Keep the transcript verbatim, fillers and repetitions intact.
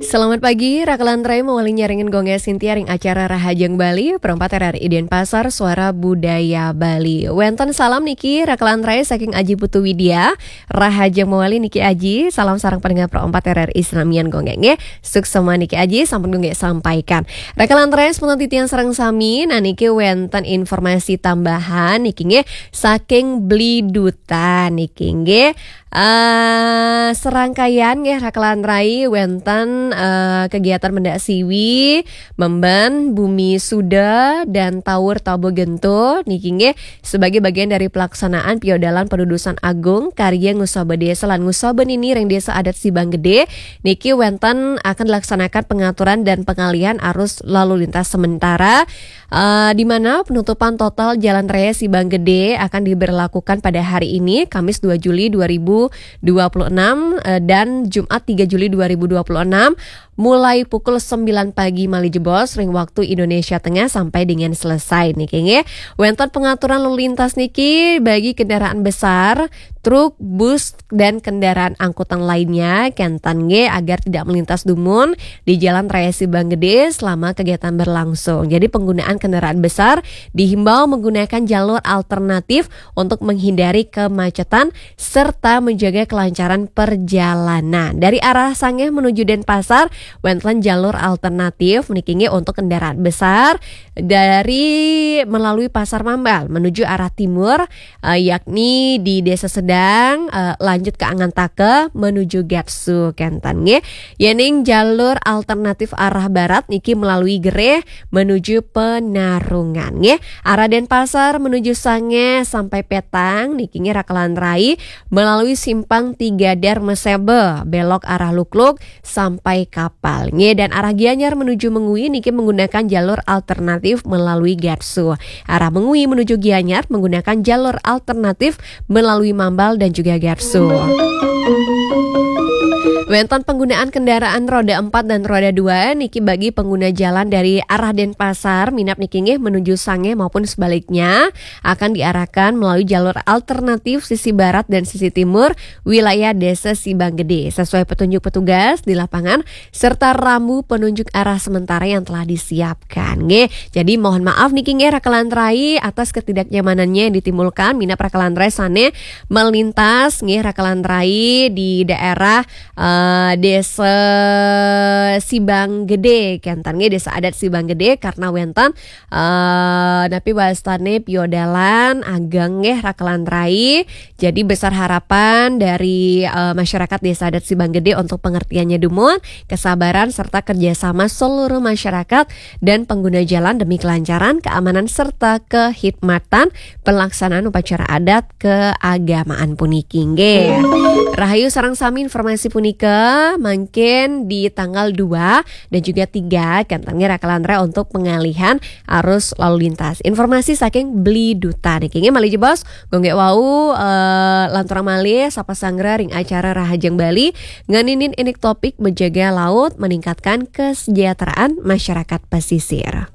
Selamat pagi, Rakalan Rai mawali nyarengin Gung Gé Sintia ring acara Rahajeng Bali, perempat R R I Denpasar, Suara Budaya Bali. Wénten salam niki, Rakalan Rai saking Aji Putu Widya, Rahajeng mawali niki Aji, salam sareng pendengar perempat R R I sinamian Gung Gé nggih. Suksma niki Aji, sampun Gung Gé sampaikan. Rakalan Rai sepunten titiang sareng sami, nah niki wénten informasi tambahan niki nggih saking Blidutan niki nggih. Eh, serangkaian nggih Rakalan Rai wénten, eh, kegiatan Mendak Siwi, Memben, Bumi Suda, dan Taur Tabo Gento niki nggih sebagai bagian dari pelaksanaan piodalan padudusan agung karya Ngusaba Desa lan Ngusaba Nini ring Desa Adat Sibang Gedé niki wénten akan dilaksanakan pengaturan dan pengalihan arus lalu lintas sementara, eh, di mana penutupan total Jalan Raya Sibang Gedé akan diberlakukan pada hari ini, Kamis dua Juli dua ribu dua puluh enam, eh, dan Jumat tiga Juli dua ribu dua puluh enam, mulai pukul sembilan pagi malih jebos ring waktu Indonesia Tengah sampai dengan selesai niki nggih. Wénten pengaturan lalu lintas niki bagi kendaraan besar, truk, bus, dan kendaraan angkutan lainnya, kénten nggih agar tidak melintas dumun di Jalan Raya Sibang Gedé selama kegiatan berlangsung. Jadi penggunaan kendaraan besar dihimbau menggunakan jalur alternatif untuk menghindari kemacetan serta menjaga kelancaran perjalanan. Dari arah Sangeh menuju Denpasar, wénten jalur alternatif niki nggih untuk kendaraan besar dari melalui Pasar Mambal menuju arah timur, eh, yakni di Desa Sedang, eh, lanjut ke Angantaka menuju Gatsu kénten nggih. Yéning jalur alternatif arah barat niki melalui Gereh menuju Penarungan nggih. Arah Denpasar menuju Sangeh sampai Petang niki nggih Rakalan Rai melalui simpang tiga Darmaseba, belok arah Lukluk sampai Kapal nggih. Dan arah Gianyar menuju Mengwi niki menggunakan jalur alternatif melalui Gatsu. Arah Mengwi menuju Gianyar menggunakan jalur alternatif melalui Mambal dan juga Gatsu. Wénten penggunaan kendaraan roda empat dan roda dua niki bagi pengguna jalan dari arah Denpasar minab niki nggih menuju Sangeh maupun sebaliknya akan diarahkan melalui jalur alternatif sisi barat dan sisi timur wilayah Desa Sibang Gedé sesuai petunjuk petugas di lapangan serta rambu penunjuk arah sementara yang telah disiapkan nggih. Jadi mohon maaf niki nggih Rakalan Rai atas ketidaknyamanannya yang ditimbulkan minab Rakalan Rai sané melintas nggih Rakalan Rai di daerah, eh, Desa Sibang Gedé kénten nggih, Desa Adat Sibang Gedé karena wénten, eh, napi wastané piodalan ageng nggih Rakalan Rai. Jadi besar harapan dari, eh, masyarakat Desa Adat Sibang Gedé untuk pengertiannya dumun, kesabaran serta kerjasama seluruh masyarakat dan pengguna jalan demi kelancaran, keamanan serta kehikmatan pelaksanaan upacara adat keagamaan puniki nggih. Rahayu sareng sami, informasi punika mangkin di tanggal dua dan juga tiga kénten nggih Rakalan Rai untuk pengalihan arus lalu lintas. Informasi saking Blidutan niki nggih malih jebos Gung Gé wau, eh, lanturang malih sapa sanggra ring acara Rahajeng Bali ngeninin indik topik menjaga laut meningkatkan kesejahteraan masyarakat pesisir.